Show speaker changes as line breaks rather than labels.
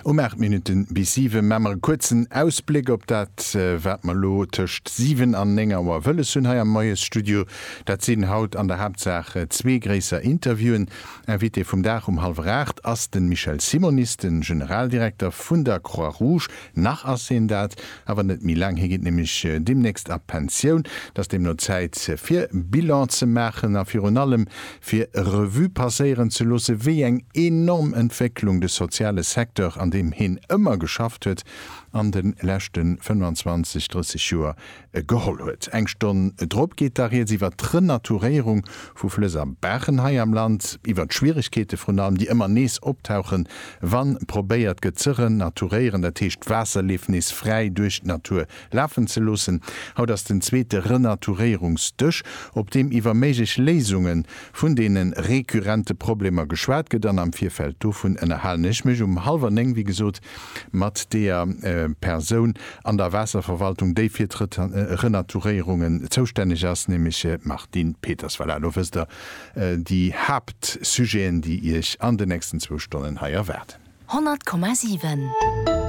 Um 8 Minutten bis 7 maa mer e kuerzen Ausbléck op dat, wat mer elo tëscht 7 an 9 Auer wëlles hunn hei am Moiesstudio. Dat sinn haut an der Haaptsaach zwee gréisser Interviewen. Invité vum Dag um hallwer 8 ass de Michel Simonis, de Generaldirekter vun der Croix-Rouge. Nach ass hien dat, awer net méi laang. Hie geet nämlech deemnächst a Pensioun. Et ass deemno Zäit fir Bilan ze maachen a virun allem fir Revue passéieren ze loosse wéi eng enorm Entwécklung de soziale Secteur, an deem hien ëmmer geschafft huet, an de leschte 25, 30 Joer geholl huet. Eng Stonn drop geet da rieds iwwer d'Renaturéierung vu Flëss a Baachen hei am Land, iwwer d'Schwieregkeete vrun allem, déi ëmmer nees optauchen, wa probéiert gëtt ze renaturéieren, dat heescht d'Waasserleef nees fräi duerch d'Natur lafen ze loossen. Haut ass den zweete Renaturéierungsdësch, op deem iwwer méiglech Léisunge vun deene rekurrente Problemer geschwat gëtt. An am Virfeld dovun ënnerhalen ech mech um hallwer 9, wéi gesot, mat deeër Persoun an der Waasserverwaltung, déi fir d'Renaturéierungen zoustänneg ass, nämlech d'Martine Peters. Voilà, elo wësst der déi Haaptsujeten, déi Iech an den nächsten zwou Stonnen hei erwaarden.
100,7.